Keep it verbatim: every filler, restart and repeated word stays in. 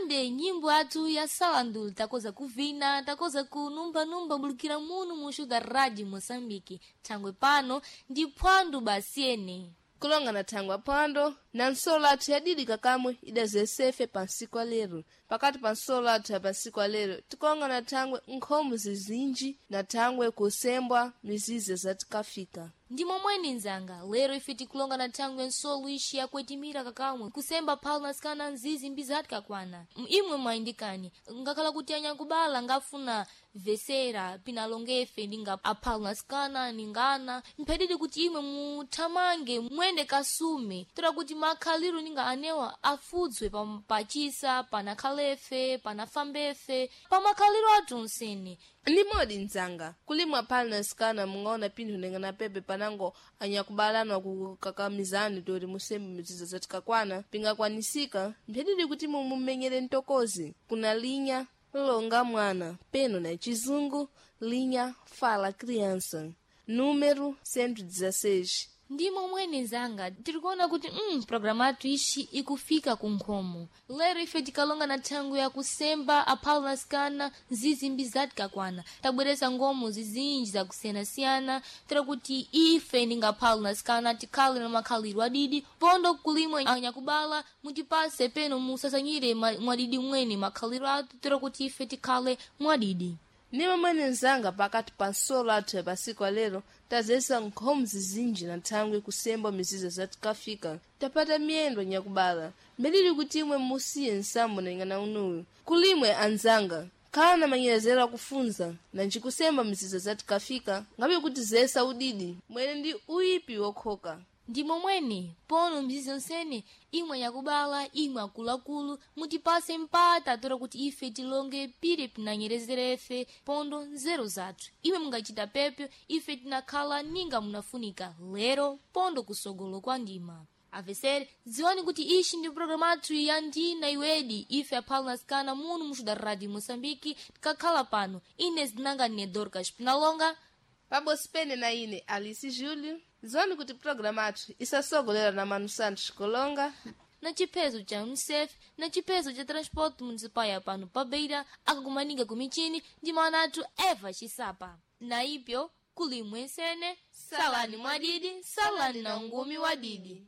Nande nyimbo atu ya salandulu takoza kuvina, takoza kunumbanumba bulukira munu muxu da Rádio Moçambique. Thangwe pano ndi phwando basiene. Kulonga na thangwe phwando na nsolo athu yadidika kamwe idazesefe pa nsiku alero. Pakati pa nsolo athu ya pa nsiku alero tikulonga na thangwe nkhomo zizinji na thangwe kusembwa mizizi zatikafika. Ndi momweni nzanga lero ife tikulonga na thangwe nsolo ixi yakuetimira kakamwe kusemba phalo nasikana nzizi mbizati kakwana. Imwe mwayindikani ngakhala kuti anyakubala ngafuna vesera pinalongefe ninga aphalo nasikana ningana mphedidi kuti imwe muthamange mwende kasume toda kuti makhaliro ninga anewa afudzwe pa- pachisa panakhalefe panafambefe pamakhaliro athu nsene. Ndi modi nzanga kulimwa phali nasikana mungaona pinthu nengana pepe panango anyakubalana kukakamizani tori musembe mizizo zatikakwana pingakwanisika mphedidi kuti mumumenyere mtokozi kuna linya longa mwana peno na chizungu linha fala criança número cento e dezesseis. Ndi momwene nzanga tirikuona kuti mm, programu athu ixi ikufika ku nkhomo. Lero ife tikalonga na thangwe yakusemba aphalo nasikana nzizi mbizati kakwana. Tabweresa ngomo zizinji zakusiyanasiyana tira kuti ife ninga phalo nasikana tikhale na makhaliro adidi pondo kulimwe anyakubala mutipase peno musasanyire ma- mwadidi mwene makhaliro athu tira kuti ife tikhale mwadidi. Ndi momwene nzanga pakati pa nsolo athu ya pasiku alero tazesa nkhomo zizinji na thangwe kusemba mizizo zatikafika. Tapata miyendo nyakubala mbedili kuti imwe musiye nsambo nalingana unuyu kulimwe anzanga khala na manyerezero akufunza na njikusemba mizizo zatikafika ngabe kuti zesa udidi mwene ndi uyipi wokhoka. Ndi momwene pono mzizi onsene imwe yakubala imwe akuluakulu mutipase mpata tora kuti ife tilonge pire pinanyerezerefe pondo nzeru zathu. Imwe mungachita pepyo ife tinakhala ninga munafunika lero pondo kusogolo kwa ndima. Avesere dziwani kuti ixi ndi programu athu ya ndina iwedi ife aphalo nasikana munu muxu da Rádio Moçambique tikakhala pano. Ine zinanga ne Dorcas Pinalonga Pabosi pene na ine Alice Júlio. Ziwani kuti programu athu isasogolera na Manu Santos Kolonga na chiphezo cha UNICEF na chiphezo cha transporte municipal ya pano pa Beira akakumanika ku michini ndi mana athu Eva Chisapa. Na ipyo kulimwe nsene salani mwadidi salani na ungumi wadidi.